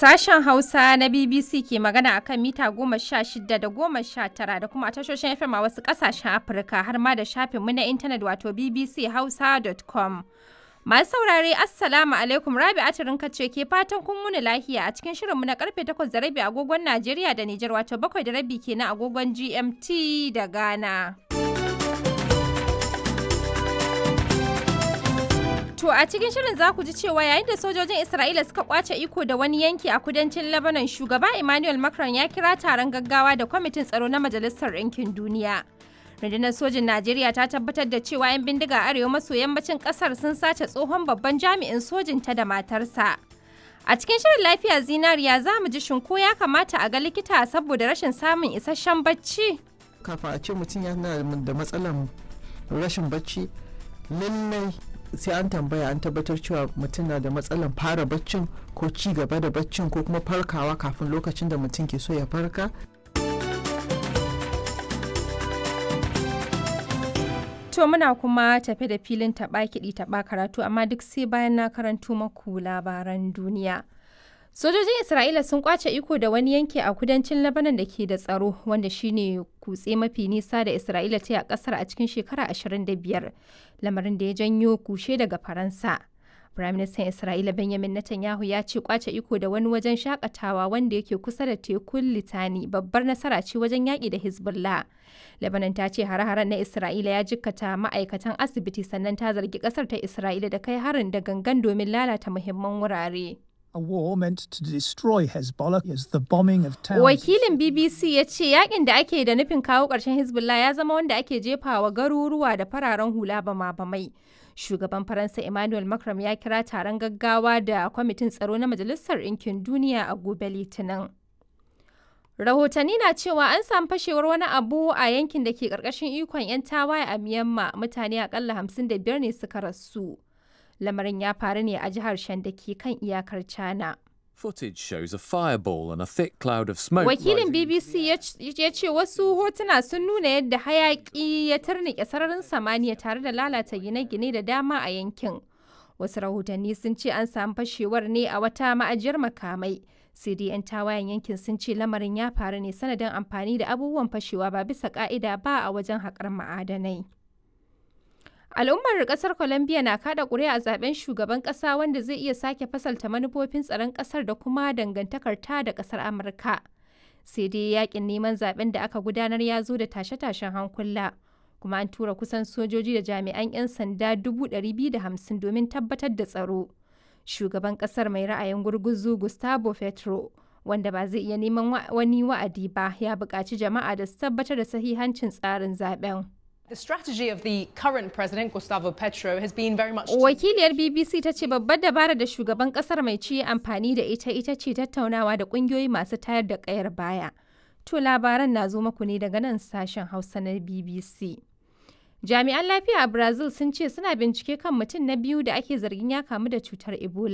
Sashen Hausa na BBC ke magana a kan mita 16 da 19 da kuma a tashoshin FM a wasu ƙasashen Afirka har ma da shafinmu na intanet wato bbchausa.com. Masu saurare, Assalamu alaikum, Rabi Atirinka ce ke fatan kun wuni lahiya a cikin shirinmu na karfe 8:30 agogon Najeriya da Nijar, wato 7:30 kenan agogon GMT da Ghana. To a cikin shirin za ku ji cewa yayin da sojojin Isra'ila suka kwace iko da wani yanki a kudancin Lebanon, shugaba Emmanuel Macron ya kira taron gaggawa da kwamitin tsaro na Majalisar Ɗinkin Duniya. Rundunar sojin Najeriya ta tabbatar da cewa 'yan bindiga arewa maso yammacin ƙasar sun sace tsohon babban jami'in sojin ta da matarsa. A cikin shirin lafiya zinariya za mu ji shin ko ya kamata a ga likita saboda rashin samun isasshen bacci. Kafin a ce mutum yana da matsalar rashin bacci, lallai sai an tambaya an tabbatar cewa mutum na da matsalar fara baccin ko ci gaba da baccin ko kuma farkawa kafin lokacin da mutum ke so ya farka. To muna kuma tafe da filin taɓa kiɗi taɓa karatu, amma duk sai bayan na karanto maku labaran duniya. Sojojin Isra'ila sun kwace iko da wani yanki a kudancin Lebanon da ke da tsaro, wanda shine kutse mafi nisa da Isra'ila ta yi a kasar a cikin shekara 25, lamarin da ya janyo kushe daga Faransa. Firaministan Isra'ila Benjamin Netanyahu ya ce kwace iko da wani wajen shakatawa wanda yake kusa da tekun Litani babbar nasara ce wajen yaƙi da Hezbollah. Lebanon ta ce hare-haren na Isra'ila ya jikkata ma'aikatan asibiti, sannan ta zargi ƙasar ta Isra'ila da kai harin da gangan domin lalata muhimman wurare. A war meant to destroy Hezbollah is the bombing of towns. Wakilin BBC ya ce yakin da ake da nufin kawo ƙarshen Hezbollah ya zama wanda ake jefawa garuruwa da fararen hula bama-bamai. Shugaban Faransa Emmanuel Macron ya kira taron gaggawa da kwamitin tsaro na Majalisar Ɗinkin Duniya a gobe Litinin. Rahotanni na cewa an samu fashewar wani abu a yankin da ke ƙarƙashin ikon 'yan tawaye a Myanmar, mutane akalla 55 ne suka rasu. Lamarin ya faru ne a jihar Shan da ke kan iyakar China. Footage shows a fireball and a thick cloud of smoke. Wakilin BBC ya ce wasu hotuna sun nuna yadda hayaki ya turnike sararin samaniya tare da lalata gine-gine da dama a yankin. Wasu rahotanni sun ce an samu fashewar ne a wata ma'ajiyar makamai. Sai dai 'yan tawayen yankin sun ce lamarin ya faru ne sanadin amfani da abubuwan fashewa ba bisa ka'ida ba a wajen haƙar ma'adanai. Al'ummar kasar Colombia na kada ƙuri'a a zaben shugaban ƙasa wanda zai iya sake fasalta manufofin tsaron ƙasar da kuma dangantakar ta da ƙasar Amurka. Sai dai yakin neman zaben da aka gudanar ya zo da tashe-tashen hankula. Kuma an tura kusan sojoji da jami'an 'yan sanda 250 domin tabbatar da tsaro. Shugaban ƙasar mai ra'ayin gurguzu Gustavo Petro, wanda ba zai iya neman wani wa'adi ba, ya buƙaci jama'a da su tabbatar da sahihancin tsarin zaben. The strategy of the current president, Gustavo Petro, has been very much. Wakiliyar BBC ta ce babbar dabara da shugaban kasar mai ci amfani da ita ita ce tattaunawa da kungiyoyi masu tayar da kayar baya. To labaran na zo muku ne daga nan sashen Hausa na BBC. Jami'an lafiya a Brazil sun ce suna bincike kan mutum na biyu da ake zargin ya kamu da cutar Ebola.